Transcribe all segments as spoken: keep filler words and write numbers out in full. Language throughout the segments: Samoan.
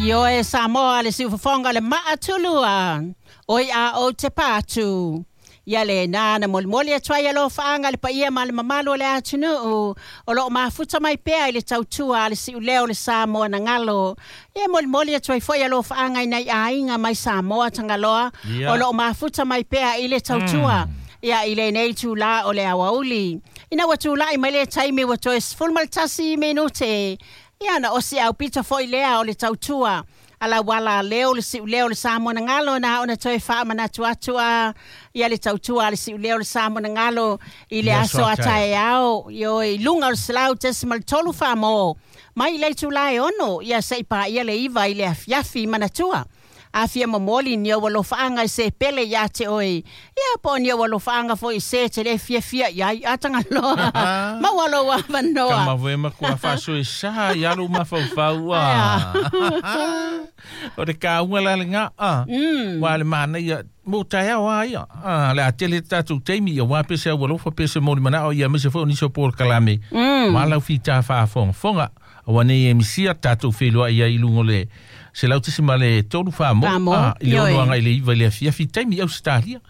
Ioe Samoa le siufofoga le maatulua oi a o te patu. Ia le nā na molimoli atu ai alofaaga le paia ma le mamalu o le atunuu o loo mafuta mai pea i le tautua a le siuleo o le Samoa na galo. Ia molimoli atu ai foi alofaaga i nai aiga mai Samoa Tagaloa Ia. o loo mafuta mai pea i le tautua. Ia i lenei itulā o le aoauli. Ina ua tula'i mai le taimi ua toe sefulu ma le tasi minute. Ia na osi aupito foi lea o le tautua. Ala wala leo le siuleo le Samoa na galo na ona toe faamanatu atu a ia le tautua a le siuleo le Samoa na galo i le I aso aso a a taeao io i luga o le selau tesimal tolu faa-mo mai le itulā e ono ia se'i paia le iva i le afiafi manatua. A fia momoli ni ou alofaaga i se pele iā te oe. Ia po o ni ou alofaaga foi i se te le fiafia i ai a Tagaloa. Maua lou avanoa. Kama voe ma kua whaaso e sa i alu mafaufau a. O le kāunga la le ngā a. Wa le mana ia, mo taeao a ia. A, le a tele tātou teimi ia wā pese au alofa pese mō manao ia mese fo niso pō kalame. Mm. Wā lau whita whaafonga. Fonga, awa nei e misia tātou whenua ia i lungo le se lau tisi ma le tolu wha mo. Wha mo, A, i le ioi. ono anga i le iwa i le afiafi taimi au sitalia.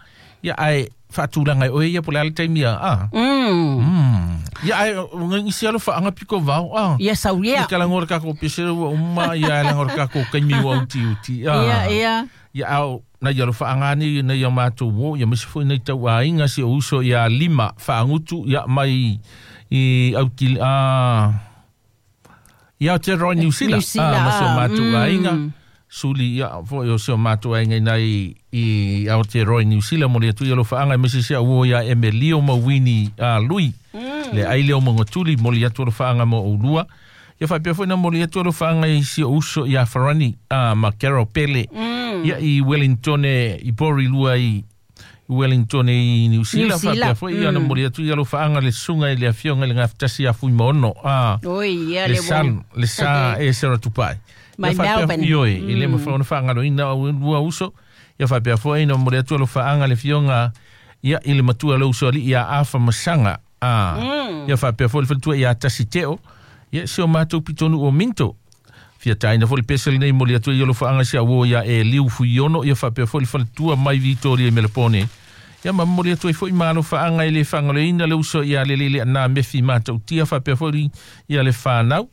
Ia ai whaatulanga e oe ia po le ale taimi ia. A. Mm. Mm. Ia ai ngisi alo whaanga piko vau. A. Ia saulia. I kala ngora kako pese ua uma ia ala ngora kako kaimi ua uti uti. A. Ia, ia. Ia au na ia whaanga ni na ia mātou wo ia misi foi nei tau ainga si o uso ia lima whaangutu ia mai i au ki a ia Aotearoa New Zealand. New Zealand, Ah, ma se o ah, mātou mm. ainga. Suli ia foi o se o mātou ainga nei i Aotearoa New Zealand mo le atu ia lo whaanga misi se au ia Emelio ma Winnie a Lui. Le ai leo mongotuli mo le atu lo whaanga mo ulua. Ia whaipea foi na mo le atu lo whaanga i si o uso ia Farani a ma Carol Pele. Ia i Wellington e, i Pori Lua i Wellington i New Zealand. New Zealand, Whaipea foi ia na mo le atu ia lo whaanga le sunga i le afionga i le ngawhtasi a fui maono. A, Oi, ia le le sal, wong. le sa e sera tupai. Mai Ia whaipea Melbourne. Ioi, i le mawha ona whaangalo ina o ua uso. Ia whaipea foi na mo le atu lo whaanga le fionga ia i le matua le uso ali ia afa masanga. A, ia whaipea foi le whantua ia tasi teo. Ia si o mātou pitonu o minto. Fia taina foi le pese nei mo le atu ia lo whaanga si a wo ia e liu fuiono. Ia whaipea foi le whantua mai Vitoria i Melbourne. Ia ma mo le atu ai foi malo whaanga i le whangalo ina le uso ia le lele na mefi mātou tia whaipea foi ia le whanau.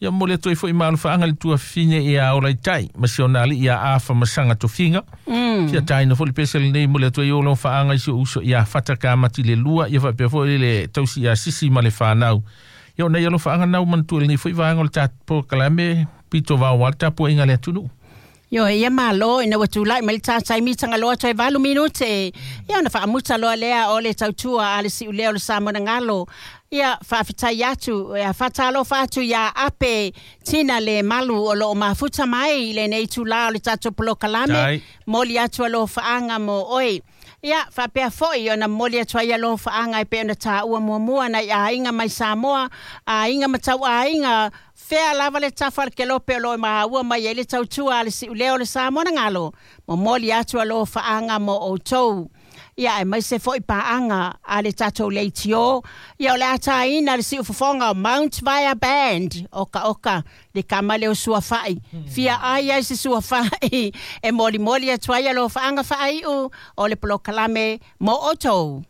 Ia mo le atu ai foi malo whaanga le tua fine ia ola i tai. Ma si ona ali ia afa masanga tofinga. Mm. Fia taina foi le pese nei mo le atu ai o lo whaanga i si o uso ia whataka mati le lua. Ia whaipea foi le tausi ia sisi ma le whanau. Ia ona ia lo whaanga nau mantua le nei foi vaanga o le tāpo kalame pito vau wal tāpo inga le atunu. Io ia malo ina ua tula'i mai le tataimi Tagaloa toe valu minute. Ia ona faamuta loa lea o le tautua a le siulea o le Samoa na galo. Ia faafetai atu, ia faatalofa atu iā Ape Tina le malu o loo mafuta mai i lenei itulā o le tatou polokalame. Tai. Moli atu alofaaga mo oe. Ia faapea foi ona momoli atu ai alofaaga e pei ona tāua muamua nai aiga mai Samoa, aiga ma tauaiga fea lava le tafa le kelope o loo maua mai ai le tautua a le siulea o le Samoa na galo. Momoli atu alofaaga mo outou. Ia e mai se foi paaga a le tatou leitio. Ia o le ataina le siufofoga o Mount Via Band. Oka oka, le kama leo suafa'i. Fia ai ai se suafa'i. E molimoli atu ai alofaaga faaiu o le polokalame mo outou.